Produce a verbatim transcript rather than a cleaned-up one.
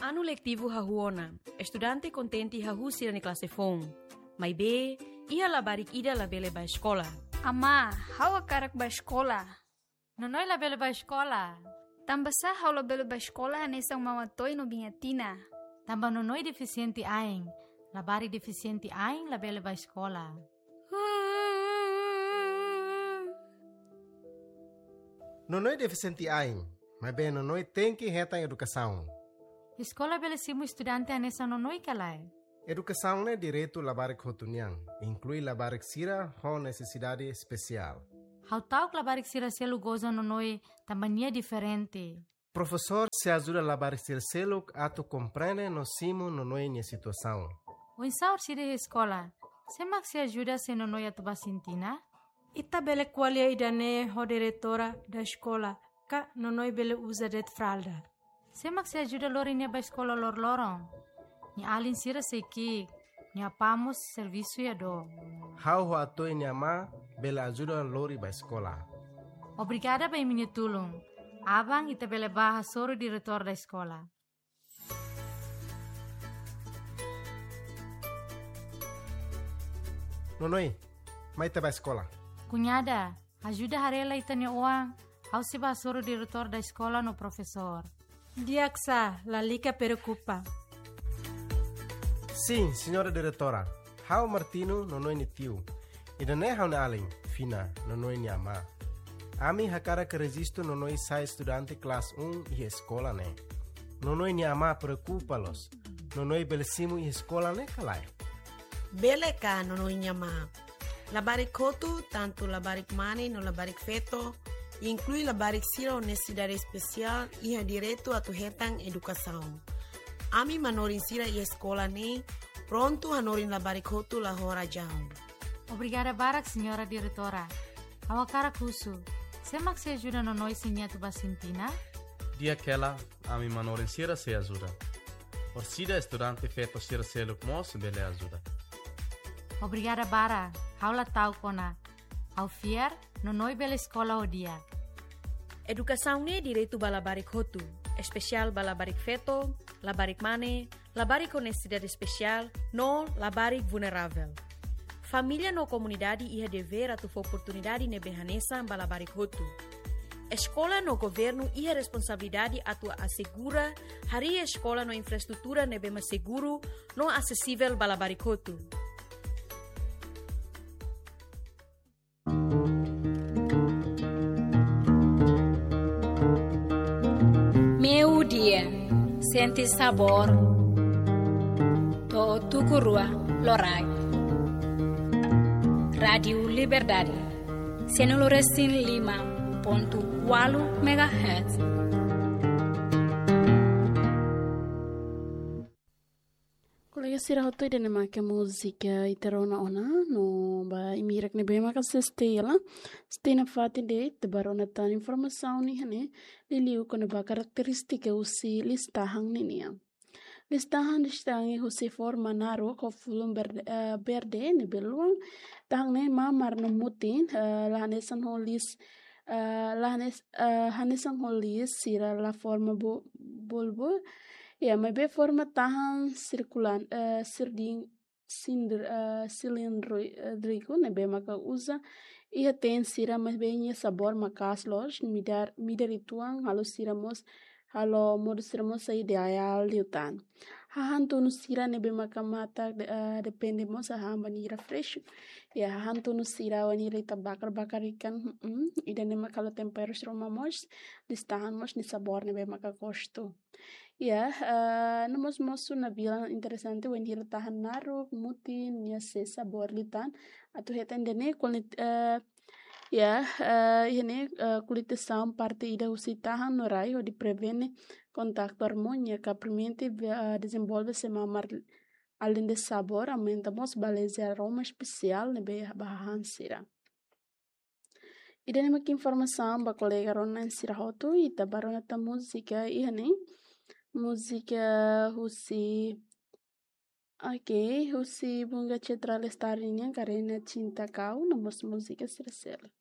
Anu letivu hahú ona, estudante kontente hahú sira-nia klase foun. Maibé, iha labarik ida labele bá eskola. Amá, ha'u hakarak bá eskola. Nonoi labele bá eskola. Tanbasá ha'u labele bá eskola hanesan Mama Toi no Biña Tina? Tanba Nonoi defisiente ain. Labarik defisiente ain labele bá eskola. Nonoi defisiente ain, maibé Nonoi tenke hetan edukasaun. Eskola bele simu estudante hanesan Nonoi ka lae? Edukasaun ne'e direitu labarik hotu nian, inklui labarik sira ho nesesidade espesiál. Ha'u ta'uk labarik sira seluk goza Nonoi tanba nia diferente. Profesór sei ajuda labarik sira seluk atu komprende no simu Nonoi nia situasaun. Oinsá orsida iha eskola? Sé mak sei ajuda se Nonoi atu bá sintina? Ita bele ko'alia ida-ne'e ho diretora da eskola, ka Nonoi bele uza de'it fralda. Sé mak sei ajuda lori nia bá eskola loroloron? Nia alin sira sei ki'ik, nia apá mós servisu iha dook. Ha'u ho Atoi nia amá bele ajuda lori bá eskola. Obrigada ba imi-nia tulun. Aban ita bele bá hasoru diretór da eskola. Nonoi, mai ita bá eskola. Kuñada, ajuda haree lai ita-nia oan, ha'u sei bá hasoru diretór da eskola no profesór. Di'ak sá, lalika preokupa. Sin, señora diretora. Ha'u Martino, Nonoi nia tiu. Ida-ne'e ha'u-nia alin, Fina, Nonoi nia amá. Ami hakarak rejistu Nonoi sai estudante klase un iha eskola ne'e. Nonoi nia amá preokupa loos. Nonoi bele simu iha eskola ne'e ka lae? Bele ka, Nonoi nia amá. Labarik hotu, tantu labarik mane no labarik feto, inklui labarik sira ho nesesidade espesiál, iha direitu atu hetan edukasaun. Ami manorin sira iha eskola ne'e prontu hanorin labarik hotu la ho razaun. Obrigada barak, señora diretora. Ha'u hakarak husu, sé mak sei ajuda Nonoi se nia atu bá sintina? Di'ak hela, ami manorin sira sei ajuda. Orsida estudante feto sira seluk mós bele ajuda. Obrigada barak, ha'u la ta'uk ona. Ha'u fiar, Nonoi bele eskola ho di'ak. Edukasaun ne'e direitu ba labarik hotu, espesiál ba labarik feto, labarik mane, labarik ho nesesidade espesiál, no labarik vulneravel. Família no komunidade iha devér atu fó oportunidade ne'ebé hanesan ba labarik hotu. Eskola no governu iha responsabilidade atu asegura harii eskola no infraestrutura ne'ebé mak seguru no asesivel ba labarik hotu. Meiudia, sente sabór to'o tuku rua loraik. Rádiu Liberdade, cento e cinco e cinco ponto quatro megahertz. Kolega sira hotu, ida-ne'e mak múzika ita rona ona, no ba imi hirak ne'ebé maka sei stay la, stay nafatin de'it, ita bá rona tan informasaun iha ne'e, liuliu kona-ba karakterístika husi liis-tahan ninian. Liis-tahan destakan husi forma naruk ho fulun berde, eh, berde ne'ebé luan, tahan ne'e mamar no mutin, eh, la hanesan ho liis, eh, la hanes-, eh, hanesan ho liis sira la forma bu-, bulbu, ya, maibé forma tahan sirkulan, eh, sirdin-, sindr-, eh, silindri-, eh, driku ne'ebé maka uza iha teen sira, maibé nia sabór maka'as loos, midar, midar uitoan, halo sira mós, halo modo sira mós sai ideál liután. Hahán tunu sira ne'ebé maka matak de-, eh, depende mós hahán bainhira fresku. Ya, hahán tunu sira bainhira ita bakar-bakar ikan, mm, ida-ne'e maka halo temperu sira ruma mós, liis-tahan mós nia sabór ne'ebé maka gostu. Ya, eh, no mós mosu nabilan interesante, bainhira tahan naruk, mutin, nia sei sabór liután. Atu hetan ida-ne'e kulit, eh, ya, eh, iha ne'e, eh, kulitasaun parte ida husi tahan no rai hodi prevene kontaktu armónia ka permite, eh, dezenvolve sira mamar, alende sabór, aumenta mós baliza aroma espesiál ne'ebé ba hahán sira. Ida-ne'e mak informasaun ba kolega rona sira hotu, ita bá rona tan múzika iha ne'e. Múzika husi, ok, husi Bunga Citra Lestari nian, Karena Cinta Kau, no mós múzika sira seluk.